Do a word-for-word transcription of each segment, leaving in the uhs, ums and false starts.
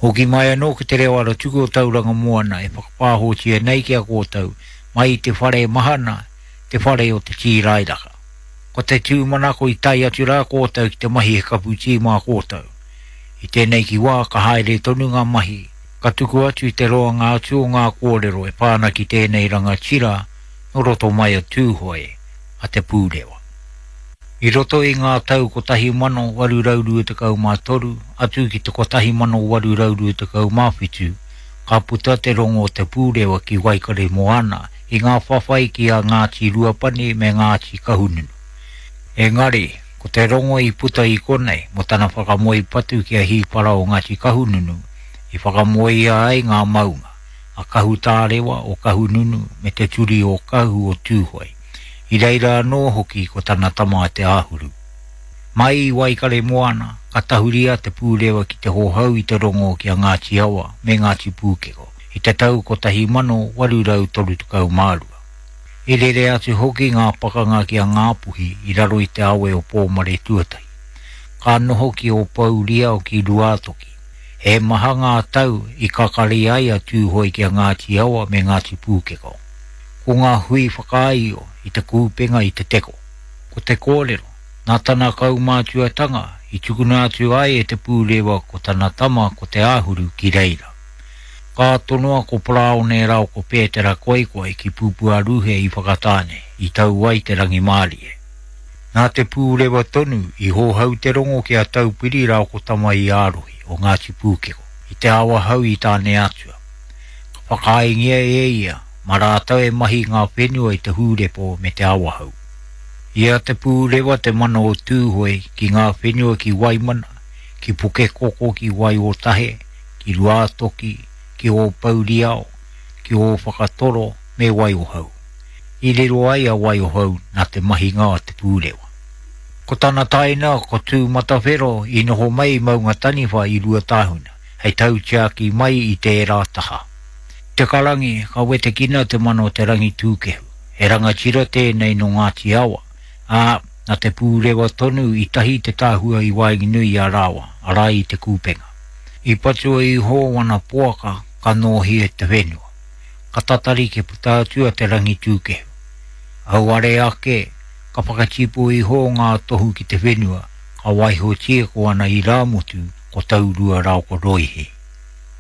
Hoki mai anō ki te reo aratuku o Tauranga Moana e whakapāhotia nei ki a kōtou mai i te whare mahana, te whare o te tīrairaka. Ko te tūmanako i tae atu rā kōtou ki te mahi he kapu tī mā kōtou. I tēnei ki wā ka haere tonu ngā mahi, ka tuku atu i te roanga atu o ngā kōrero e pā ana ki tēnei rangatira nō roto mai a Tūhoe, a Te Pūrewa. I roto i ngā tau kotahi mano waru rau rua tekau mā toru atu ki te kotahi mano waru rau rua tekau mā whitu, ka puta te rongo o Te Pūrewa ki Waikaremoana i ngā whawhai ki a Ngāti Ruapani me Ngāti Kahungunu. Engari, ko te rongo i puta i konei mō tana whakamoe patu ki a Hīpara o Ngāti Kahungunu, i whakamoea ai ngā maunga, a Kahutārewa o Kahungunu me te Turi o Kahu o Tūhoe. I reira anō hoki ko tana tama a Te Āhuru. Mai i Waikaremoana, ka tahuria Te Pūrewa ki te hohou i te rongo ki a Ngāti Awa me Ngāti Pūkeko i te tau kotahi mano waru rau toru tekau mā rua. I rere atu hoki ngā pakanga ki a Ngāpuhi i raro i te awe o Pōmare Tuatahi. Ka noho ki Ōpouriao ki Ruātoki. He maha ngā tau i kakari ai a Tūhoe ki a Ngāti Awa me Ngāti Pūkeko. Ko ngā hui whakaaio i te kūpenga i te teko. Ko te kōrero, nā tana kaumātuatanga i tukuna atu ai e Te Pūrewa ko tana tama ko Te Āhuru ki reira. Ka tonoa ko Paraone rāua ko Pētera Koikoi ki Pūpuaruhe i Whakatāne, i tau ai te rangimārie. Nā Te Pūrewa tonu i hohou te rongo ki a Taupiri rāua ko Tama-i-ārohi o Ngāti Pūkeko, i te Awahou i Tāneatua. Ka whakaaengia e ia, mā rātou e mahi ngā whenua i te Hūrepo me te Awahou. I a Te Pūrewa te mana o Tūhoe ki ngā whenua ki Waimana, ki Pukekoko ki Waiotahe, ki Ruātoki, ki Ōpouriao, ki Ōwhakatoro me Waiohau. I riro ai a Waiohau nā te mahinga a Te Pūrewa. Ko tana taina ko Tūmatawhero i noho mai i Maungataniwha i Ruatāhuna, hei tautiaki mai i tērā taha. Te Karangi, ka wetekina te mana o Te Rangitūkehu. He rangatira tēnei nō Ngāti Awa, ā, nā Te Pūrewa tonu i tahi te tahua i waenganui i a rāua, arā i te kūpenga. I patua iho wana poaka ka nōhia te whenua. Ka tatari kia puta atu a Te Rangitūkehu. Auare ake, ka whakatipu iho ngā tohu ki te whenua, ka waihotia ko ana irāmutu ko Taurua rāua ko Roihi.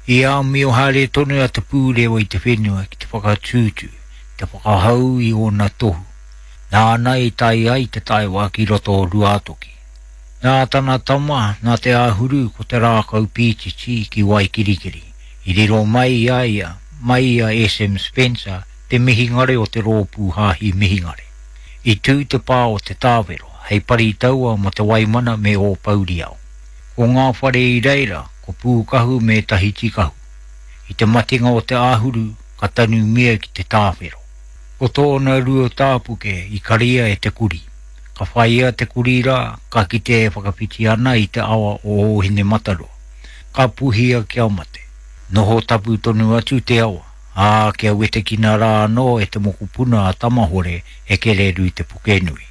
I āmio haere tonu a Te Pūrewa i te whenua ki te whakatūtū, te whakahau i ōna tohu. Nāna i tae ai te taewa ki roto o Ruātoki. Nā tana tama, nā Te Āhuru ko te rākau pītiti ki Waikirikiri, i riro mai i a ia, mai i a S M Spencer, te mihingare o te rōpū hāhi mihingare. I tū te pā o Te Tāwero, hei pari taua mō te Waimana me Ōpouriao. Ko ngā whare i reira, ko Pūkahu me Tahitikahu. I te matenga o Te Āhuru, ka tanumia ki Te Tāwhero. Ko tōna rua tāpuke i karia e te kuri. Ka whaia te kuri rā, ka kite e whakawhiti ana i te awa o Ōhinemataroa. Ka puhia kia mate. Noho tapu tonu atu te awa, ā, kia wetekina rā anō e te mokopuna a Tamahore e Kereru te Pukenui.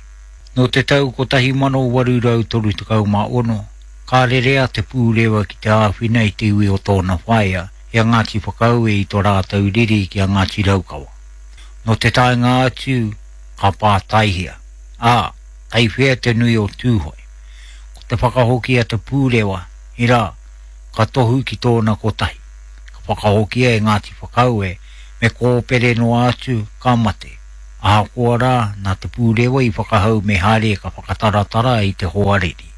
Nō te tau kotahi mano waru rau toru tekau mā ono, ka rere a Te Pūrewa ki te āwhina i te iwi o tōna whaea, i a Ngāti Whakaue i tō rātou riri ki a Ngāti Raukawa. Nō te taenga atu, ka pātaihia, ā, kei whea te nui o Tūhoe. Ko te whakahoki a Te Pūrewa, irā, ka tohu ki tōna kotahi. Ka whakahokia e Ngāti Whakaue, me kōpere noa atu, ka mate. Ahakoa rā, nā Te Pūrewa i whakahau me haere ka whakataratara i te hoariri.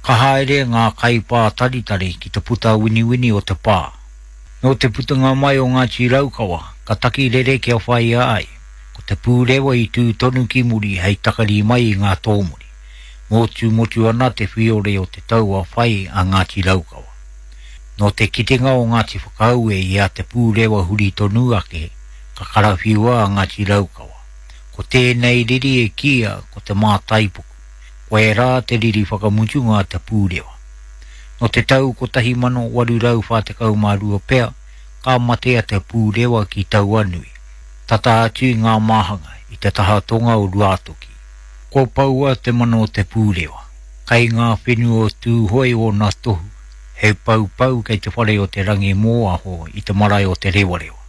Ka haere ngā kaipātaritari ki te puta winiwini o te pā. Nō te putanga mai o Ngāti Raukawa, ka taki rere kia whaia ai. Ko Te Pūrewa i tū tonu ki muri hei takari mai i ngā tōmuri. Motumotu ana te whiore o te taua whai a Ngāti Raukawa. Nō te kitenga o Ngāti Whakaue i a Te Pūrewa huri tonu ake, ka karawhiua a Ngāti Raukawa. Ko tēnei riri e kīia ko te mātaipuku. Koe rā te riri whakamutunga a Te Pūrewa. Nō te tau kotahi mano waru rau whā tekau mā rua pea, ka mate a Te Pūrewa ki Tauanui, tata atu i ngā māhanga i te taha tonga o Ruātoki. Ko paua te mana o Te Pūrewa, kei ngā whenua o Tūhoe ōna tohu, He paupau kei te whare o te rangi mōaho i te marae o te rewarewa.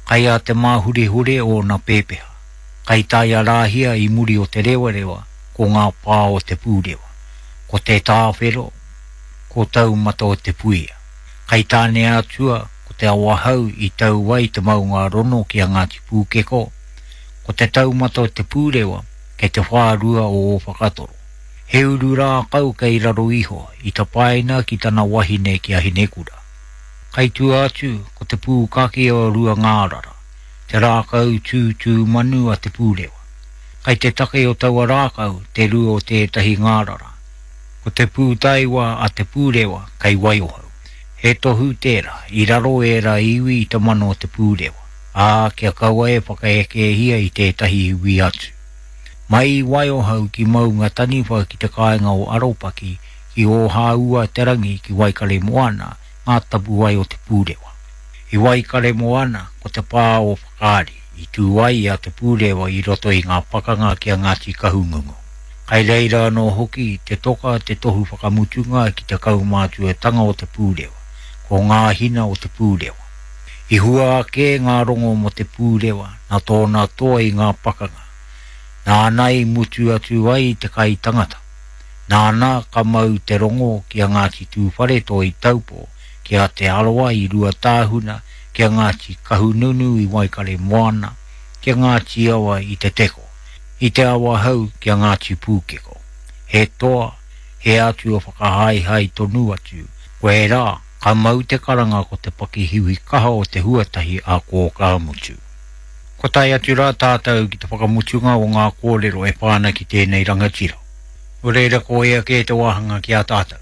Kai a te māhurehure o nā pēpeha. Kai taia rāhia i muri o te rewarewa ko ngā pā o te pūrewa. Ko te tāwhero, ko taumata o te puia. Kai tāne atua ko te awahau i tau ai te maunga rono ki a Ngāti Pūkeko, ko te taumata o te pūrewa kei te whārua o o whakatoro. He uru rākau kei raro iho i tapaina ki tana wahine ki a Hinekura. Kai tua atu ko te pūkake o rua ngārara, te rākau tūtū manu a te pūrewa. Kai te take o taua rākau te rua o tētahi ngārara. Ko te pūtaiwa a te pūrewa kei Waiohau. He tohu tērā, i raro era iwi i te mano o te pūrewa, ā kia kaua e whakaekehia i tētahi iwi atu. Mai i Waiohau ki Maunga Taniwha ki te kāinga o Aropaki, ki Ōhāua te rangi ki Waikare Moana, ngā tapuwae o te pūrewa. I Waikare Moana, ko te pā o Whakaari, i tū ai a te pūrewa i roto i ngā pakanga ki a Ngāti Kahungungu. Kai reira anō hoki te toka te tohu whakamutunga ki te kaumātuatanga o te pūrewa, ko ngā hina o te pūrewa. I hua ake ngā rongo mo te pūrewa, nā tōna toa i ngā pakanga. Nāna i mutu atu ai te kai tangata. Nāna ka mau te rongo ki a Ngāti Tūwharetoa i Taupo, ki a Te Arawa i Ruatāhuna, ki a Ngāti Kahununu i Waikare Moana, ki a Ngāti Awa i Te Teko, i Te Awahou ki a Ngāti Pūkeko. He toa, he atua whakahaehae tonu atu, ko e rā, ka mau te karanga ko te pakihiwi kaha o te huatahi a Kōkāmutu. Ko tae atu rā tātou ki te whakamutunga o ngā kōrero e pāna ki tēnei rangatira. Nō reira ko ea kē te wāhanga ki a tātou.